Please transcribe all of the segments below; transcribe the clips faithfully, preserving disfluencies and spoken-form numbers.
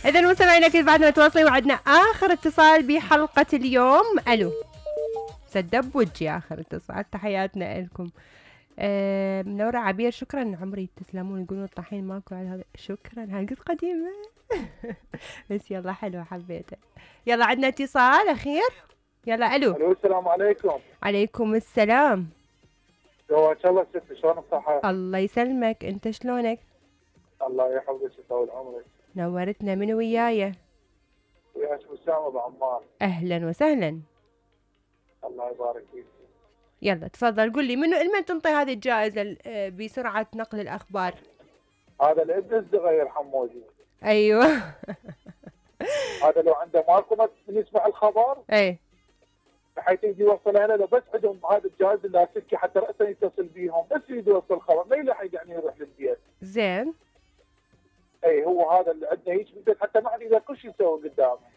إذا مستمعينا أكيد بعدنا متواصلين وعدنا آخر اتصال بحلقة اليوم. ألو سدب بوجي آخر اتصال، تحياتنا لكم. آه منورة عبير شكرا عمري تسلمون، يقولون الطحين ماكو على هذا، شكرا هاي قد قديمة بس يلا حلوة حبيته. يلا عندنا اتصال أخير، يلا ألو. ألو السلام عليكم. عليكم السلام. جواك الله ست، شلونك صحة؟ الله يسلمك، أنت شلونك؟ الله يحفظك ويطول عمرك. نورتنا، من وياي؟ وياك أسامة بعمان. أهلا وسهلا. الله يبارك فيك. يلا تفضل قل لي منو لمن تنطي هذه الجائزة بسرعة نقل الأخبار؟ هذا الابن الصغير حمودي. أيوه هذا لو عنده ماركو من يسمع الخبر اي بحيث يجي يوصل هنا، لو بس عندهم هذا الجهاز اللاسلكي حتى رأسا يتصل بيهم، بس يجي يوصل الخبر ما يلحق يعني يروح للبيت. زين. اي هو هذا اللي عندنا هيك بالبيت، حتى ما عاد يقدر كل شيء يسوي قدامه.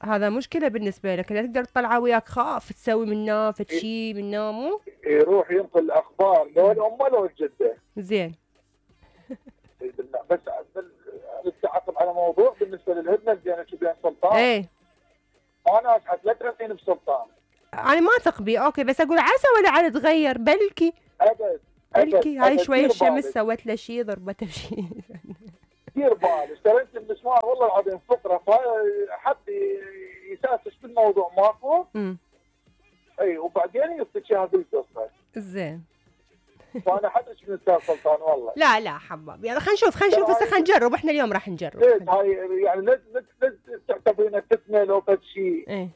هذا مشكلة بالنسبة لك، لا تقدر تطلعه وياك، خاف تسوي منه فد شيء منه مو؟ يروح ينقل الأخبار لو الأم لو الجدة. زين. بس نتعاقب على موضوع بالنسبة للهدنة بين بين سلطان. ايه أنا أشحت لا تغثين بسلطان. أنا ما أثق بيه، أوكي بس أقول عسى ولا عاد تغير، بلكي. أبد. بلكي هاي شوية الشمس سوت له شيء، ضربته بشيء. دير بالك، اشتريت المسمار والله العظيم فقرة، فحب يساسس بالموضوع ماكو. امم اي وبعدين يعطيك اياها بالقصة. زين. فأنا حدش من أستاذ سلطان والله. لا لا حباب، يلا خلينا نشوف خلينا نشوف هسه خلينا نجرب، احنا اليوم راح نجرب. ليش هاي يعني لا لا تعتبرينها فتنة لو فد شيء. ايه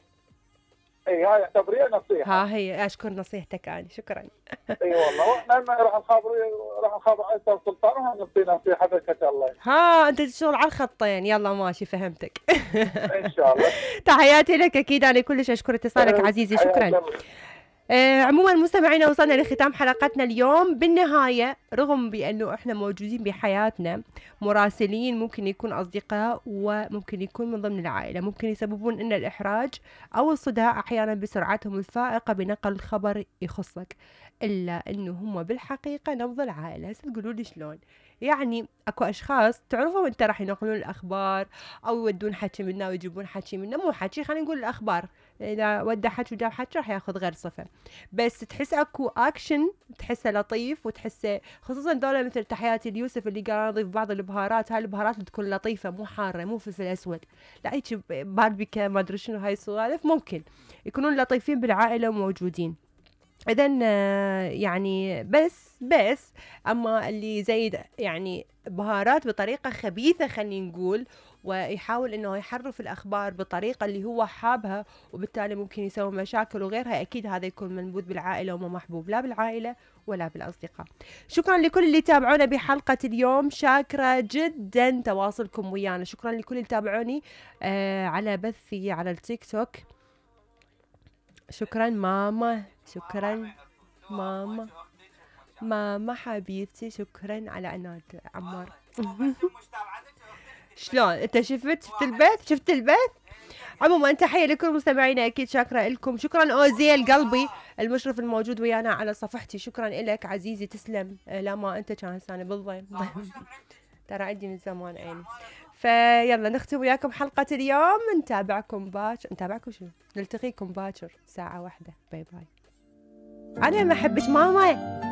اي هاي اعتبريها نصيحة. ها هي اشكر نصيحتك انا، شكرا. اي والله واحنا راح نخابر راح نخابر على استاذ سلطان وهنعطي نصيحة بركة الله. ها انت تشتغل على الخطين، يلا ماشي فهمتك. ان شاء الله. تحياتي لك اكيد، انا كلش اشكر اتصالك عزيزي، شكرا. آه عموما مستمعينا وصلنا لختام حلقتنا اليوم. بالنهاية رغم بأنه احنا موجودين بحياتنا مراسلين ممكن يكون أصدقاء وممكن يكون من ضمن العائلة، ممكن يسببون لنا الإحراج أو الصداع أحيانا بسرعتهم الفائقة بنقل الخبر يخصك، إلا أنه هم بالحقيقة نبض العائلة. هسه تقولوا لي شلون؟ يعني اكو اشخاص تعرفهم انت راح ينقلون الاخبار او يودون حكي منا ويجيبون حكي منا، مو حكي خلينا نقول الاخبار، اذا ودى حكي وجاب حكي راح ياخذ غير صفه، بس تحس اكو اكشن تحسه لطيف وتحسه، خصوصا دولة مثل تحياتي اليوسف اللي قال نضيف بعض البهارات، هاي البهارات تكون لطيفه مو حاره مو فلفل اسود، لا هيك باربيكا ما ادري شنو هاي السوالف، ممكن يكونون لطيفين بالعائله وموجودين. إذن يعني بس بس أما اللي زيد يعني بهارات بطريقة خبيثة خلينا نقول، ويحاول إنه يحرف الأخبار بطريقة اللي هو حابها وبالتالي ممكن يسوي مشاكل وغيرها، أكيد هذا يكون منبوذ بالعائلة وما محبوب لا بالعائلة ولا بالأصدقاء. شكرا لكل اللي تابعونا بحلقة اليوم، شاكرة جدا تواصلكم ويانا، شكرا لكل اللي تابعوني آه على بثي على التيك توك، شكرا ماما، شكرا ماما ماما حبيبتي، شكرا على عناد عمار. شلون انت شفت شفت البث شفت البث عموما تحية لكل مستمعينا، اكيد شاكرة لكم، شكرا اوزيل قلبي المشرف الموجود ويانا على صفحتي، شكرا لك عزيزي تسلم، لا ما انت كان هسه بالضيم ترى عندي من زمان عيني. فيلا نختم وياكم حلقة اليوم، نتابعكم باكر، نتابعكم شنو نلتقيكم باكر ساعة واحدة، باي باي. أنا ما أحبك ماما.